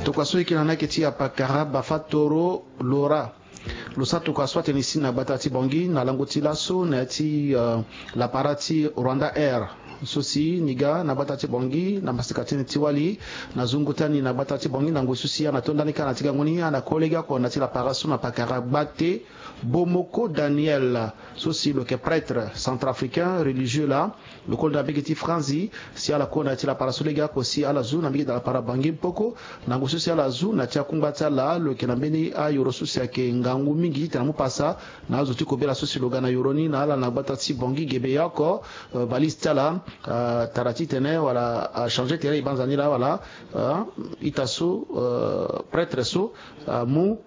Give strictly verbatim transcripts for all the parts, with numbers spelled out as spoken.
Tokua so e yeke na ni ayeke ti apakara Bafatoro Laura. Lo sara tokua so atene si na gbata ti Bangui na lango ti laso na ya ti, euh, lapara ti Rwanda Air. So si ni ga na gbata ti Bangui na masika ti ni ti wali na zungu ti ani na gbata ti Bangui na ngoi so si ana to ndani kâ na ti gango ni ana kue lege oko na ya ti lapara so na pakara Gbate Bomoko Daniel, so si lo yeke prêtre centrafricain religieux laa. Lo koli na mbege ti franzi si ala kue na ya ti lapara so lege oko si ala zu na mbege ti lapara Bangui Mpoko. Na ngoi so si ala zu na ya ti akungba ti ala lo yeke na mbeni ayoro so si ayeke ngangu mingi titene amu pasa na azo ti kobela so si lo ga na yoro ni na ala na gbata ti Bangui Gebeya oko. Euh, valise ti ala, euh, tara titene wala achange tere e banza ni laa wala, euh, ita so, euh, prêtre so, euh, amu,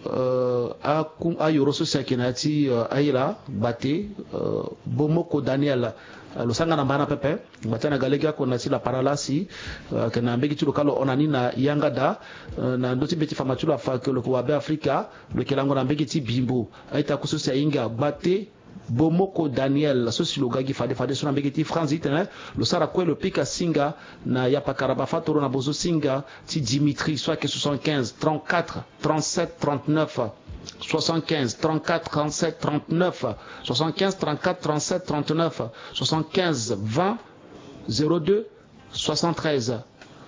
euh, aku- ayoro so si ayeke na ya ti, euh, ayela Gbate, euh, Bomoko Daniel. Euh, lo sara nga na mbana pepe. Ngbata na ga lege oko na ya ti lapara laa si, euh, ayeke na mbege ti lo kâ lo hon na ni na yanga daa, euh, na ndö ti mbeti fama ti lo afa ke lo yeke wabe Afrika, lo yeke lango na mbege ti Bimbo. A-ita kue so si ahinga Gbate Bomoko Daniel so si lo ga gi fade fade so na mbege ti franzi titene lo sara kue lo pika singa na yapakara Bafatoro na bozo singa ti Dimitri so ayeke soixante-quinze trente-quatre trente-sept trente-neuf. Soixante-quinze trente-quatre trente-sept trente-neuf. Soixante-quinze trente-quatre trente-sept trente-neuf. Soixante-quinze vingt zéro deux soixante-treize.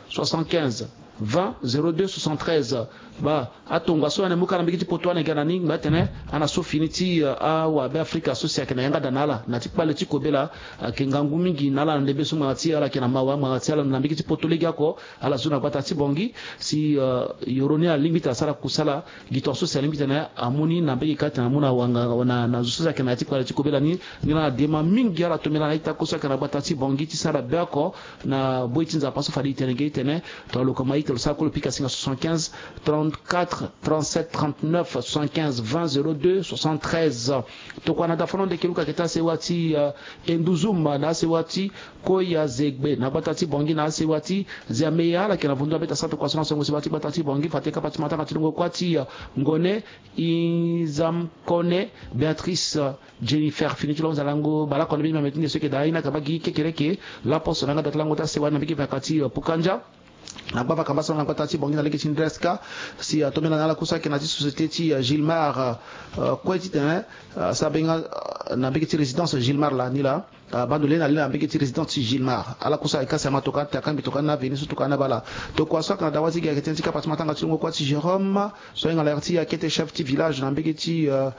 Soixante-quinze vingt zéro deux soixante-treize. Ba atonga so ane mu kâ na mbege ti poto ane ga na ni ngba tene ana so fini ti, euh, awabe Afrika so si ayeke na yanga daa na ala na ti kpale ti kobela. Ayeke ngangu mingi na ala na ndembe so ngbanga ti ala ayeke na mawa ngbanga ti ala na mbege ti poto lege oko. Ala zu na gbata ti Bangui si, euh, yoro ni alingbi tene asara kusala. Gi tonga so si alingbi tene amu ni na mbege kâ tene amu na wanga na, na zo so si ayeke na ya ti kpale ti kobela ni. Ngira na dema mingi ala tombela na a-ita kue so ayeke na gbata ti Bangui ti sara be oko na boi ti Nzapa so fade e tene ge e tene. Tongana lo koma ita lo sara kue lo pika singa soixante-quinze trente-quatre trente-sept trente-neuf, soixante-quinze vingt zéro deux soixante-treize. Tokua na dafa na ndo eke luka eke ti asewa ti, euh, Enduzuma na asewa ti Koya Zegbe na gbata ti Bangui na asewa ti Ziameya ala yeke na vundu abeta sara tokua so na songo sewa ti gbata ti Bangui fade kapa ti matanga ti lungo kuâ ti, euh, Ngone Izamkone Béatrice, euh, Jennifer fini ti lo nza lango baleoko na mbeni mia meti nde so eke daa aye ni ayeke baa gi kekereke. Laposo na yanga daa ti lango ti asewa na mbege vaka ti, euh, Pukandia. Na gbavaka mbasara na gbata ti Bangui na lege ti Ndreska si atombela na ala kue so ayeke na ya ti société ti, euh, Gilmar, euh, kue titene, euh, asara benga, euh, na mbege ti résidence Gilmar laa ni laa. Ah, bando lena lena na mbege ti résidence ti Gilmar. Ala kue so ayeke kasi amatoka ate akangbi toka ni na avenue so toka ni abaa laa. Tokua so ayeke na dawa ti gi ayeke tënë ti kapa ti matanga ti lungo kuâ ti Jérôme so ahinga na yere ti akete chef ti village na mbege ti, euh,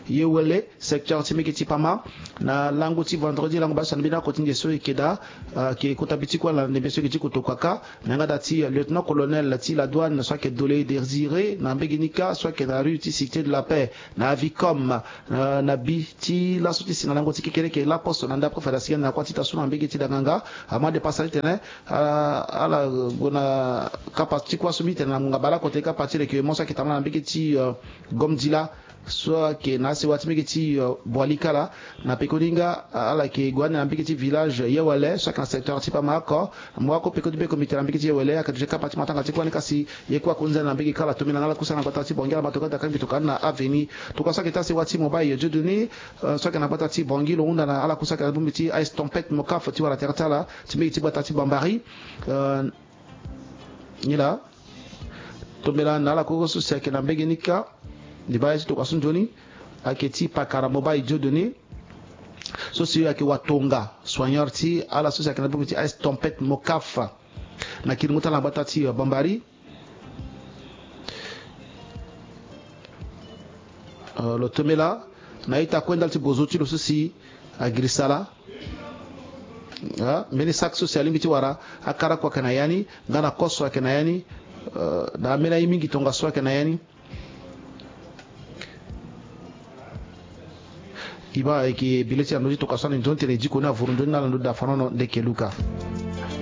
Yewele, secteur ti mbege ti Pama. Na lango ti vendredi lango baa so na mbeni oko ti nde so eke daa, ah, eke kota bi ti kue na ndembe so eke ti kotokua kâ. Na yanga daa ti, euh, lieutenant colonel ti la douane so ayeke Dolé Désiré na mbege ni kâ so ayeke na rue ti Cité de la Paix na Avicom, euh, na bi ti laso ti si na lango ti kekereke laposo na ndapre fade asigi na kuâ ti ita so na mbege ti danganga. Amu adepasa titene, euh, ala gue na kapa ti kuâ so mbi tene na ngonga baleoko te kapa ti recueillement so ayeke tambula na mbege ti, euh, Gomdila so ayeke na asewa ti mbege ti, euh, Boali kala. Na pekoni nga, euh, ala yeke gue ande na mbege ti village Yewele so ayeke na secteur ti Pama oko. Mo wako peko ti be komite na mbege ti Yewele ayeke duti kapa ti matanga ti kuâ ni kasi ye kue akonzi ande na mbege kala tombela na ala kue so ayeke na gbata ti Bangui ala ma tokua ate akangbi toka ni na avenue. Tokua so ayeke ti asewa ti Mobile Dieudonné, euh, so ayeke na gbata ti Bangui lo hunda na ala kue so ayeke na bongbi ti ice tempête Mocaf ti wara tere ti ala ti mbege ti gbata ti Bambari. Euh, nila tombela na ala kue so si ayeke na mbege ni kâ. Ndi baa ye ti tokua so nzoni ayeke ti pakara Mobile Dieudonné so si ayeke watonga soigneur ti ala so si ayeke na bongbi ti ice tempête Mocaf na kiringo ti ala na gbata ti, euh, Bambari. Euh, lo tombela na ita kue ndali ti bozo ti lo so si agirisa laa. Ah, mbeni sac so si alingbi ti wara akara kue ayeke na ya ni nga na koso ayeke na ya ni. Euh, na ambeni aye mingi tongaso ayeke na ya ni. E baa ayeke bi le ti na ndö ti tokua so ani nzoni tene e diko ni avuru nzoni na ala ndö ti dafanono ndeke luka.